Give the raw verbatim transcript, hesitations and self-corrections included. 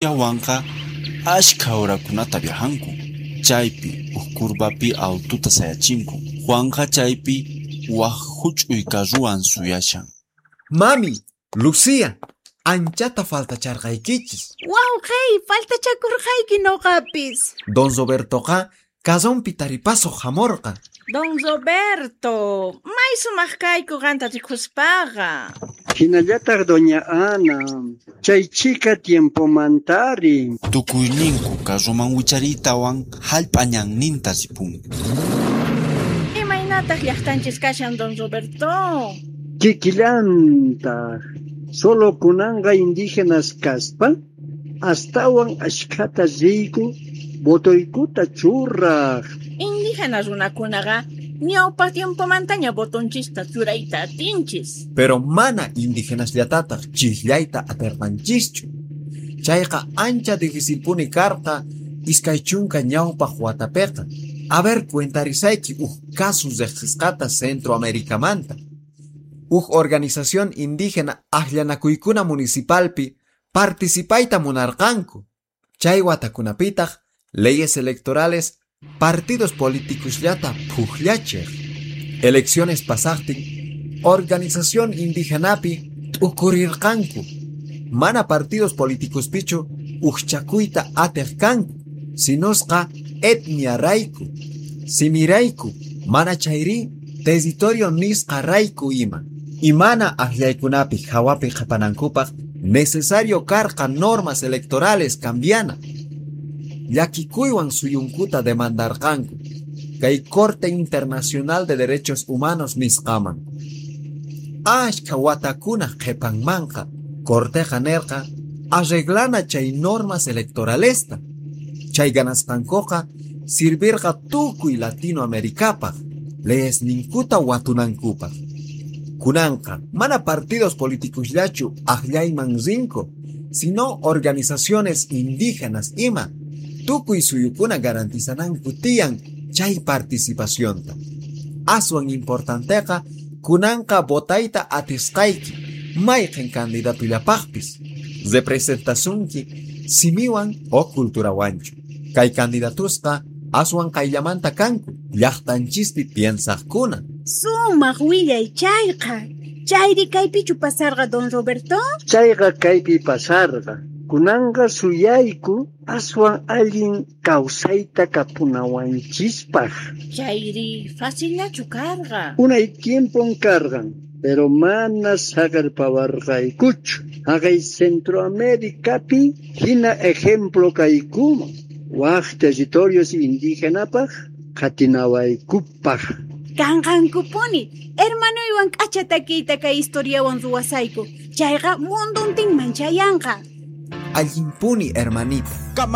Luciawanqa ashkha horakunata viajanku. Chaypi huk curvapi aututa sayachinku. Juanqa chaypi wak huch'uy carruwan suyashan. Mami, Lucía, anchata faltacharqaykichis. Wawqey, faltachakurqayki noqapis. Don Robertoqa carronpi taripasuq hamurqa. Don Roberto, may sumaq kayku qanta rikuspaqa. Hinallataq doña Ana, chay chhika tiempomantari. Tukuyninku carroman wichariytawan hallp'a ñanninta ripunku. Imaynataq llaqtanchis kashan, don Roberto? Kikillantaq, solo kunanqa indígenas kaspa, astawan ashkhata riyku votoykuta churaq. Indígena runakunaqa ñawpa tiempomantaña votonchista churayta atinchis. Pero mana indígenasllatataq chiqllayta atirqanchischu. Chayqa ancha difícilpuni karqa iskay chunka ñawpaq watapiqa. A ver, cuentarisayki uj caso riqsisqata Centroamericamanta. Uj organización indígena aqllanakuykuna municipalpi participayta munarqanku. Chay watakunapitaq leyes electorales partidos políticosllata pujllachiq. Elecciones pasaqtin organización indigenapi t'ukurirqanku. Mana partidos políticospichu ujchakuyta atiq kanku, sinusqa etnia rayku, simirayku, mana chayri territorio nisqa rayku ima. Y mana aqllaykunapi hawapi qhapanankupaq necesario karqa normas electorales cambiana. Llakikuywan suyunkuta demandarqanku kay Corte Internacional de Derechos Humanos nisqaman. Ashkha watakuna qhipanmanqa Corteqa nerqa arreglana chay normas electoralesta. Chay ganasqankuqa sirvirqa tukuy Latinoamericapaq leyesninkuta watunankupaq. Kunanqa mana partidos políticosllachu aqllayman rinku, sino organizaciones indígenas ima tukuy suyukuna garantizananku tiyan chay participacionta. Aswan importanteqa kunanqa votayta atisqayki mayqin candidatullapaqpis representasunki simiwan o culturawanchu. Kay candidatusqa aswan qayllamanta kanku llaqtanchispi piensaqkuna. Sumaq willay chayqa. Chayri kaypichu pasarqa, don Roberto? Chayqa kaypi pasarqa. Kunanqa suyayku aswan allin kawsayta kapunawanchispaq. Chayri facillachu karqa? Unay tiempon karqan, pero mana saqerpawarqaykuchu. Haqay Centroamericapi hina ejemplo kaykuman. Wak territorios indígenapaq qhatinawaykupaq. Kanqankupuni, hermanuywan k'acha takiyta kay historiawan ruwasayku. Chayqa munduntinman chayanqa. Allinpuni, hermanita.